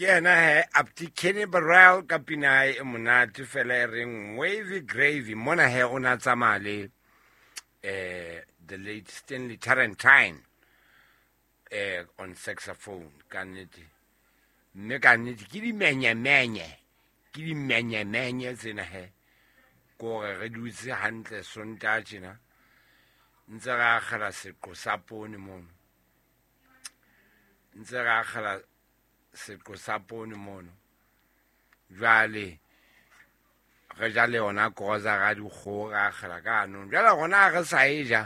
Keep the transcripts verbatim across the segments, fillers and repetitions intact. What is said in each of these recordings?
Ke yena he Apti Kenny Burrell ka pina ya hae e monate fela e reng Wavy Gravy. Mona he o na tsamaya le eh the late Stanley Tarentine eh on saxophone ka nnete. Mme ka nnete ke dimenyemenye, ke dimenyemenye tsena he. Kore re dutse hantle Sontaha tjena ntse re akgela seqo sa poone mono. Ntse re akgela seqo sa poone mono. Jwale re ja le yona grocery dikgoho re akgela ka hanong. Jwale rona ha re sa e ja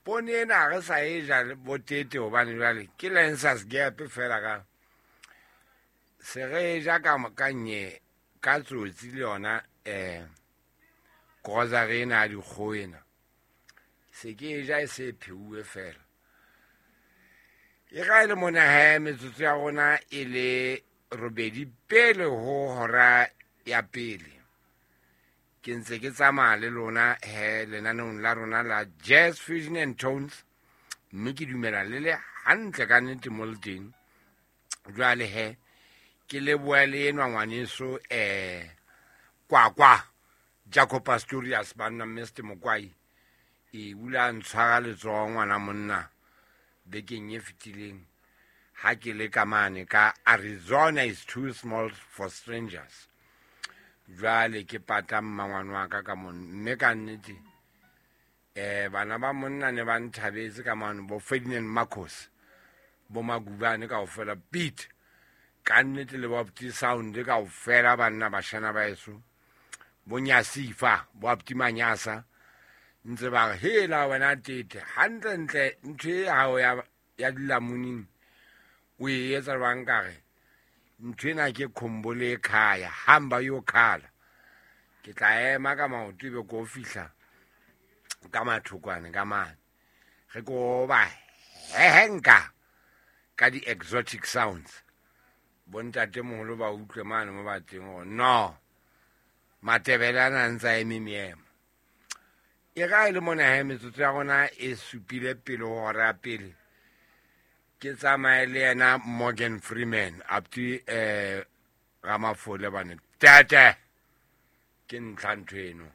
poone ena, ha re sa e ja botete hobane jwale ke Lancers Gap fela ka se re ja ka ka nye ka tsotsi le yona eh grocery ena ya dikgoho ena. Se ke e ja e se pheuwe fela. E ga e le mona he metsotso ya rona e le robedi pele ho hora ya pele. Ke ntse ke tsamaya le lona he lenaneong la rona la Jazz Fusion and Tones, mme ke dumela le le hantle ka nnete mo le teng. Jwale he ke leboha le enwa ngwaneso eh Kwakwa Jaco Pastorius banna Mister Mokwai. E ula ntshwara letsoho ngwana monna bekeng e fetileng ha ke le ka mane ka Arizona is too small for strangers. Jwale ke pata mmangwane wa ka ka mono, mme ka nnete eh bana ba monna ne ba nthabetse ka mano, bo Ferdinand Marcos, bo Magubane kaofela, Pete ka nnete le bo Apti Sound kaofela, banna bashana ba heso, bo Nyasifa, bo Apti Manyasa, ntse ba re hela wena tete hantlentle ntho e hao ya ya dilamuning o e etsa jwang ka re ntho ena ke khombole khaya hamba yo khala. Ke tla ema ka maoto ebe ko fihla ka mathokwane ka mane re ko ba hehenka ka di-exotic sounds. Bontatemoholo ba utlwe mane mo ba teng hore no Matebele ana a ntse a eme meemo. E ga e le mona he metsotso ya rona e supile pele ho hora ya pele. Ke tsamaye le yena Morgan Freeman up to eh Ramafole bane. Tete ke ntlha ntho eno.